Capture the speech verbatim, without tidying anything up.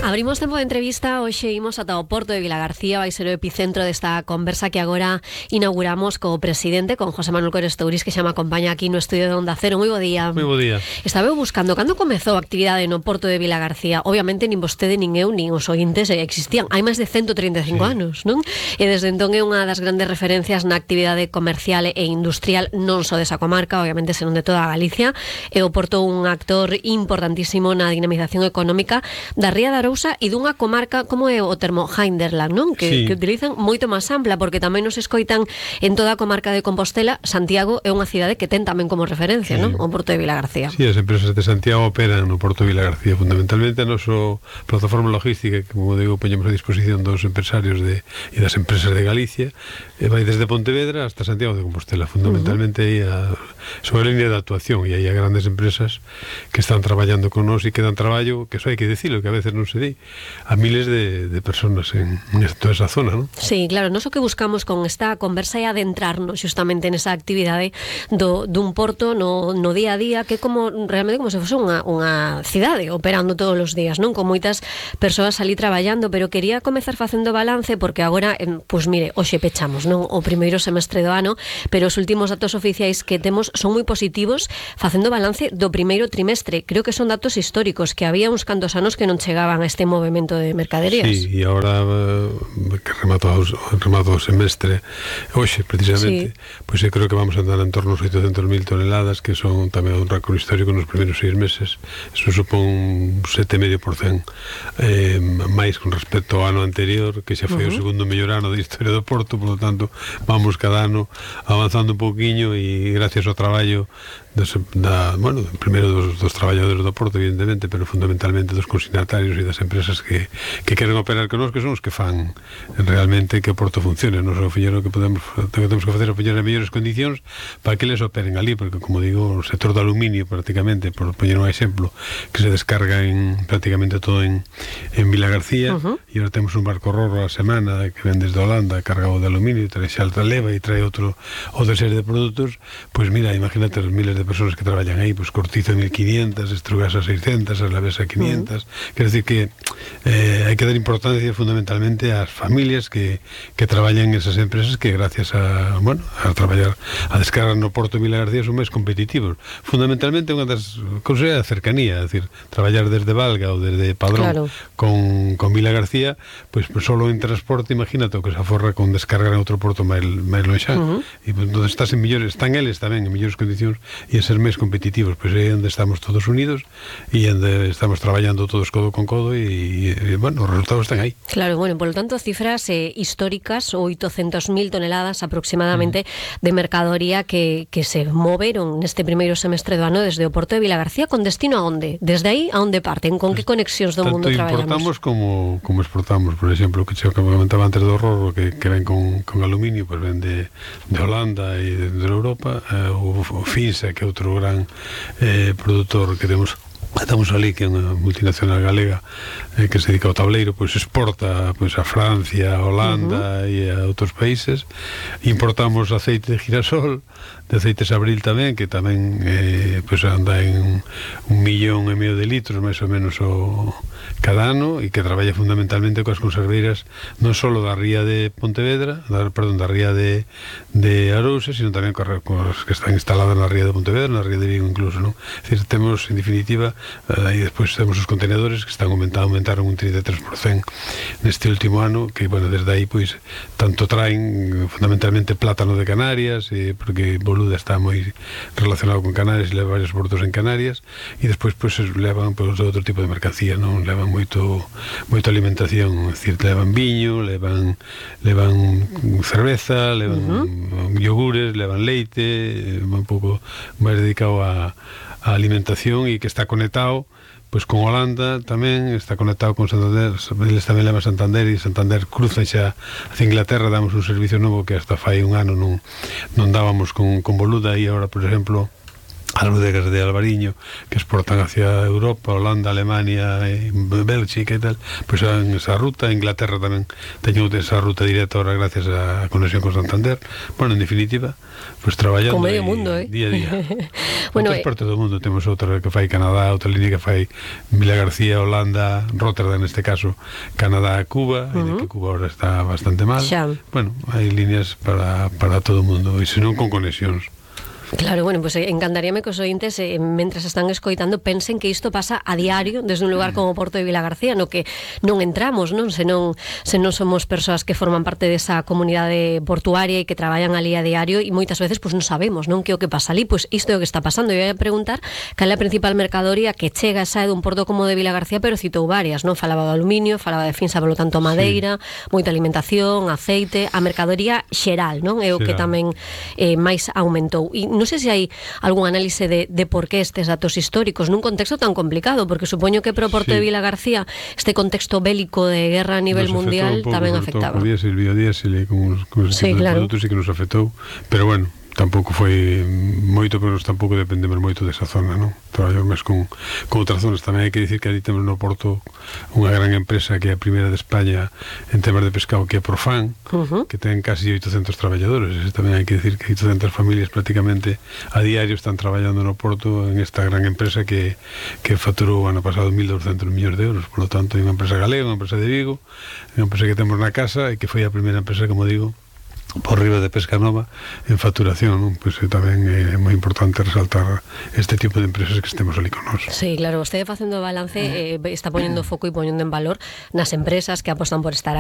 Abrimos tempo de entrevista, hoxe imos ata o Porto de Vilagarcía, vai ser o epicentro desta conversa que agora inauguramos co presidente, con José Manuel Corestouris, que xa me acompaña aquí no estudio de Onda Cero. Moi bo día. Moi bo día. Estaba eu buscando cando comezou a actividade no Porto de Vilagarcía. Obviamente nin vostede, nin eu, nin os ointes existían. Hai máis de ciento trinta e cinco sí. anos, non? E desde entón é unha das grandes referencias na actividade comercial e industrial non só desa comarca, obviamente, senón de toda a Galicia. E o Porto un actor importantísimo na dinamización económica da Ría de Arousa e dunha comarca como é o termo Hinterland, non? Que, sí. que utilizan moito máis ampla, porque tamén nos escoitan en toda a comarca de Compostela. Santiago é unha cidade que ten tamén como referencia, sí. non? O Porto de Vilagarcía. Sí, as empresas de Santiago operan no Porto de Vilagarcía, fundamentalmente a nosa plataforma logística, que, como digo, poñemos a disposición dos empresarios de, e das empresas de Galicia, e vai desde Pontevedra hasta Santiago de Compostela, fundamentalmente uh -huh. aí a, sobre a línea de actuación, e aí a grandes empresas que están traballando con nós e que dan traballo, que eso hai que dicilo, que a veces non se di, a miles de, de personas en, en toda esa zona, non? Sí, claro, nós o que buscamos con esta conversa é adentrarnos justamente nesa actividade do, dun porto no, no día a día, que é como realmente como se fose unha, unha cidade operando todos os días, non? Con moitas persoas ali traballando, pero quería comezar facendo balance, porque agora, pois pues mire, hoxe pechamos, non? O primeiro semestre do ano, pero os últimos datos oficiais que temos son moi positivos, facendo balance do primeiro trimestre. Creo que son datos históricos, que había uns cantos anos que non chegaban a este movimento de mercaderías. Sí, e agora uh, que rematou o semestre hoxe, precisamente, sí. pois eu creo que vamos a andar en torno aos oitocentos mil toneladas, que son tamén un récord histórico nos primeiros seis meses. Eso supón un sete vírgula cinco por cento eh, máis con respecto ao ano anterior, que xa foi uh -huh. o segundo mellor ano da historia do Porto. Por lo tanto, vamos cada ano avanzando un pouquiño, e gracias ao traballo dos, da, bueno, primeiro dos, dos traballadores do Porto, evidentemente, pero fundamentalmente dos consignatarios e das empresas que, que queren operar con nós, que son os que fan realmente que o Porto funcione. Nos o fillero que podemos, que temos que facer é poñer en mellores condicións para que eles operen ali, porque, como digo, o sector do aluminio, prácticamente, por poñer un exemplo, que se descarga en prácticamente todo en, en Vilagarcía, uh -huh. e agora temos un barco Roro a semana que ven desde Holanda cargado de aluminio, e trae xa alta leva e trae outro outra serie de produtos. Pois mira, imagínate os miles de personas que traballan aí, pues Cortizo mil quinientas, Estrugasa seiscentas, Aslavesa quinientas. Uh-huh. Quer decir que eh, hai que dar importancia fundamentalmente ás familias que, que traballan en esas empresas, que gracias a, bueno, a traballar a descargar no Porto de Vilagarcía son máis competitivos. Fundamentalmente unha das cousas é a cercanía, é dicir, traballar desde Valga ou desde Padrón, claro, con, con Vilagarcía, pois pues, solo en transporte, imagínate o que se aforra con descargar en outro porto máis, máis lonxán. Uh-huh. E pues, onde estás en millores, están eles tamén en millores condicións e a ser máis competitivos, pois é onde estamos todos unidos e onde estamos traballando todos codo con codo, e, e bueno, os resultados están aí. Claro, bueno, por lo tanto, cifras eh, históricas, oitocentos mil toneladas aproximadamente mm. de mercadoría que, que se moveron neste primeiro semestre do ano desde o Porto de Vilagarcía. Con destino a onde? Desde aí a onde parten? Con que conexións do mundo traballamos? Tanto importamos como, como exportamos. Por exemplo, que que comentaba antes do Roro, que, que ven con, con aluminio, pues ven de, de Holanda e de, de Europa, eh, o, o Finsa, que é outro gran eh, produtor que temos estamos ali, que é unha multinacional galega eh, que se dedica ao tableiro, pois exporta pois a Francia, a Holanda uh -huh. e a outros países. Importamos aceite de girasol, de aceites Abril tamén, que tamén eh, pois anda en un millón e medio de litros máis ou menos o cada ano, e que traballa fundamentalmente coas conserveiras non só da ría de Pontevedra, da, perdón, da ría de, de Arousa, sino tamén coas que están instaladas na ría de Pontevedra, na ría de Vigo incluso, non? É dicir, temos, en definitiva, aí despois temos os contenedores que están aumentando, aumentaron un trinta e tres por cento neste último ano, que, bueno, desde aí, pois, tanto traen fundamentalmente plátano de Canarias, eh, porque Boluda está moi relacionado con Canarias e leva varios portos en Canarias, e despois, pois, levan, pois, outro tipo de mercancía, non? Levan moito moito alimentación, é dicir, levan viño, levan levan cerveza, levan uh -huh. yogures, levan leite, un pouco máis dedicado a a alimentación, e que está conectado pois con Holanda tamén, está conectado con Santander, eles tamén levan Santander, e Santander cruzan xa hacia Inglaterra. Damos un servicio novo que hasta fai un ano non, non dábamos con, con Boluda, e agora, por exemplo, as bodegas de Albariño que exportan hacia Europa, Holanda, Alemania, Bélxica e tal, pois pues en esa ruta. Inglaterra tamén teño esa ruta directa ahora gracias á conexión con Santander. Bueno, en definitiva, pois pues, traballando con medio mundo, eh? día a día. Bueno, outras eh... partes do mundo temos outra que fai Canadá, outra línea que fai Vila García, Holanda, Rotterdam neste caso, Canadá, Cuba, uh -huh. e de que Cuba ahora está bastante mal. Xa. Bueno, hai líneas para, para todo o mundo, e senón con conexións. Claro, bueno, pues encantaríame que os ointes, eh, mentras están escoitando, pensen que isto pasa a diario desde un lugar como Porto de Vilagarcía, no que non entramos, non? Se non, se non somos persoas que forman parte desa comunidade portuaria e que traballan ali a diario, e moitas veces pues non sabemos, non, que o que pasa ali. Pois isto é o que está pasando. Eu ia preguntar cal é a principal mercadoría que chega e sae dun porto como de Vilagarcía, pero citou varias, non? Falaba do aluminio, falaba de finsa, polo tanto madeira, sí. moita alimentación, aceite, a mercadoría xeral, non? É o que tamén eh, máis aumentou. E non sei se hai algún análise de, de por que estes datos históricos nun contexto tan complicado, porque supoño que pro Porto sí. de Vilagarcía este contexto bélico de guerra a nivel nos mundial tamén afectaba. Por diésel, biodiésel, con, con ese sí, tipo claro. de produtos, e que nos afectou, pero bueno, tampouco foi moito, pero nos tampouco dependemos moito desa zona, non? Traballamos máis con, con outras zonas. Tamén hai que dicir que ali temos no Porto unha gran empresa que é a primeira de España en temas de pescado, que é Profan, uh -huh. que ten casi oitocentos traballadores. E tamén hai que dicir que oitocentas familias prácticamente a diario están traballando no Porto en esta gran empresa que, que facturou ano pasado mil douscentos millóns de euros. Por lo tanto, é unha empresa galega, unha empresa de Vigo, unha empresa que temos na casa e que foi a primeira empresa, como digo, por riba de Pesca Nova en facturación, non? Pois pues, tamén é moi importante resaltar este tipo de empresas que estemos ali con nós. Sí, claro, vostede facendo balance eh, está poñendo foco e poñendo en valor nas empresas que apostan por estar